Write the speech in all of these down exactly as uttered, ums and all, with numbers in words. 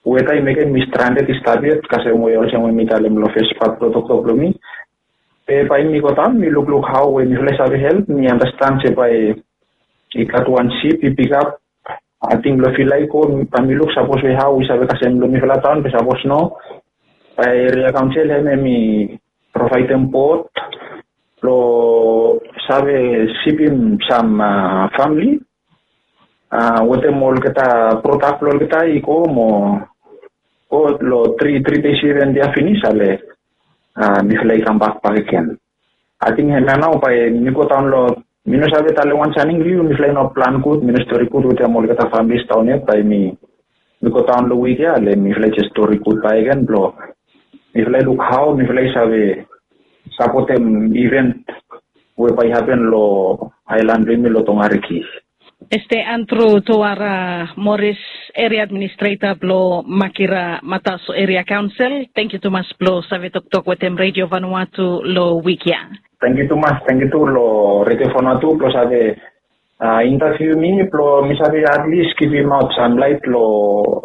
weta i mekem mi stranded i stap yet, kasem we olsem we mi talem long fes pat blong toktok blong mi. Be bae mi go daon mi lukluk hao we mifala i save help, mi anastan se bae i gat wan sip i pikap. Ating blong fila i go, bae mi luk sapos we hao i save kasem long mifala taon be sapos no, bae eria kaonsel hem hem i provaedem bot blong save sipim sam famili wetem olgeta prodak blong olgeta i go mo go long tri tri dei seven dei ya finis ale mifala i kambak bakegen. Ating hemia nao bae mi go daon long, mi no save talem wan saning long yu, mifala i no plan gud, mi no stori gud wetem olgeta familis daon yet, bae mi mi go daon long wik ya ale mifala i jes stori gud bakegen blong mifala i luk hao mifala i save sapotem iven we bae i hapen long aelan blong yumi long Tongariki. Este Andrew Tuara Morris, eria administreta blong Makira Mataso Eria Kaonsel, tangkiu tumas blong save toktok wetem Redio Vanuatu long wik ya. Tangkiu tumas, tangkiu tu long Redio Vanuatu blong save intaviu mi blong mi save atlis givimaot sam laet long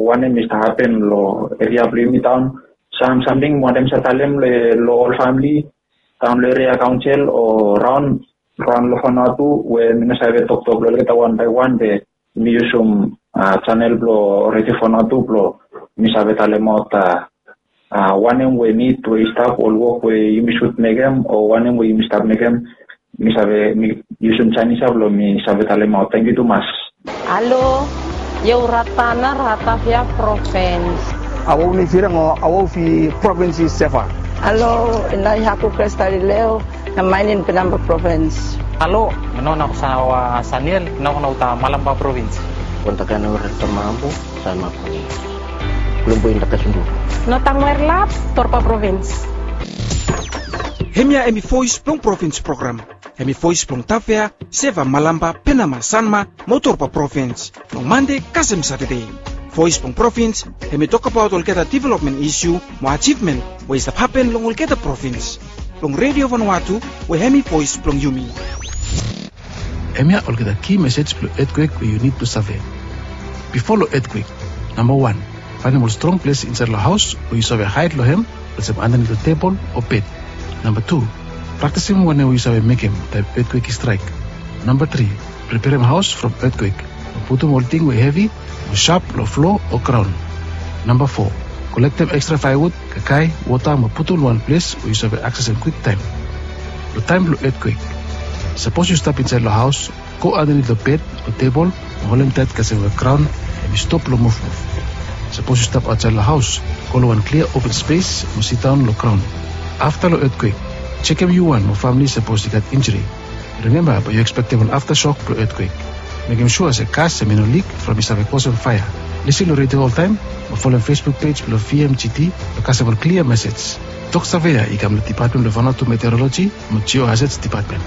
wanem i stap hapen long eria blong yumi daon, sam samting wanem sa talem long ol famili daon long eria kaonsel o raon raon long Vanuatu we mi no save toktok long olgeta wan bae wan be mi yusum chanel blong Redio Vanuatu blong mi save talemaot wanem we nid we i stap, ol wok we yumi sud mekem o wanem we yumi stap mekem, mi save mi yusum chanel ya blong mi save talemaot. Tangkiu tumas. Halo, yau Ratana, Ratavia Provins. Awau ni firang o awau fi provins i Seva. Halo, inai haku Krestalileo, na mainin Penamba Provins. Halo, no na sawa Saniel, no na uta Malamba Provins. Kontakan ora tamamu, sama Provins. Belum poin takas undur. No tangwer lap, Torpa Provins. Hemia hemi voes blong provins program. Hemi voes blong Tavea, Seva, Malamba, Penama, Sanma mo Torba provins long Mande kasem Satade. Voes blong provins hemi tokbaot olgeta developmen isiu mo ajivmen we i stap hapen long olgeta provins. Blong Redio Vanuatu we hemi voes blong yumi. Hemia olgeta ki mesej blong etkwek we yu nid blong save. Bifo long etkwek, namba wan, faenem ol strong ples insaed long haos we yu save haed long hem, olsem andanit long tebol o bed. Namba tu, praktisim wanem we yu save mekem taem etkwek i straek. Namba tri, preperem haos from etkwek mo putum ol ting we hevi mo sap long flo o graon. Namba fo, kolektem ekstra faewud, kakae, wota mo putum long wan ples we yu save aksesem kwiktaem. Long taem blong etkwek, sapos yu stap insaed long haos, go andanit long bed o tebol mo holem taet kasem we graon hemi stop long muvmuv. Sapos yu stap aotsaed long haos, go long wan klia open spes mo sidaon long graon. Afta long etkwek, jekem yu wan mo famili sapos i gat injuri. Rimemba bae yu ekspektem ol aftashok blong etkwek. Mekem sua se gas hemi no lik from i save kosem faea. Lisin long redio oltaem mo folem Facebook pej blong V M G T blong kasem ol klia mesej. Tok Savea i kam long Dipatmen blong Vanuatu Meteoroloji mo Geohazards Dipatmen.